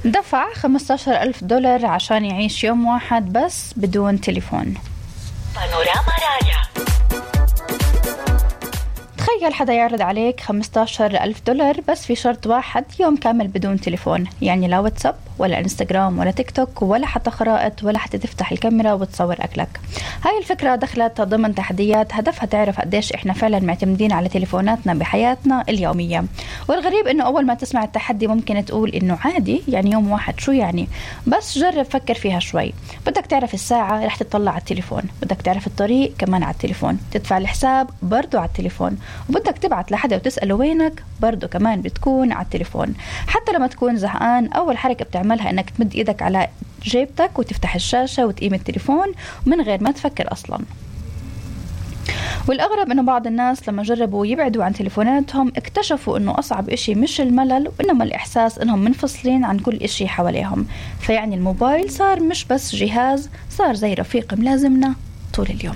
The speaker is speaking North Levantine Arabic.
دفع $15,000 عشان يعيش يوم واحد بس بدون تليفون. بانوراما راديو. تخيل حدا يعرض عليك $15,000 بس في شرط واحد: يوم كامل بدون تليفون. يعني لا واتساب ولا انستغرام ولا تيك توك ولا حتى خرائط ولا حتى تفتح الكاميرا وتصور أكلك. هاي الفكرة دخلت ضمن تحديات هدفها تعرف قديش إحنا فعلا معتمدين على تليفوناتنا بحياتنا اليومية. والغريب إنه أول ما تسمع التحدي ممكن تقول إنه عادي، يعني يوم واحد شو يعني؟ بس جرب فكر فيها شوي. بدك تعرف الساعة رح تطلع على التليفون، بدك تعرف الطريق كمان على التليفون، تدفع الحساب برضو على التليفون، وبدك تبعت لحدا وتسأله وينك برضو كمان بتكون على التليفون. حتى لما تكون زهقان أول حركة بتعملها إنك تمد إيدك على جيبتك وتفتح الشاشة وتقيم التليفون من غير ما تفكر أصلا. والأغرب إنه بعض الناس لما جربوا يبعدوا عن تليفوناتهم اكتشفوا إنه أصعب إشي مش الملل وإنما الإحساس إنهم منفصلين عن كل إشي حواليهم. فيعني الموبايل صار مش بس جهاز، صار زي رفيق ملازمنا طول اليوم.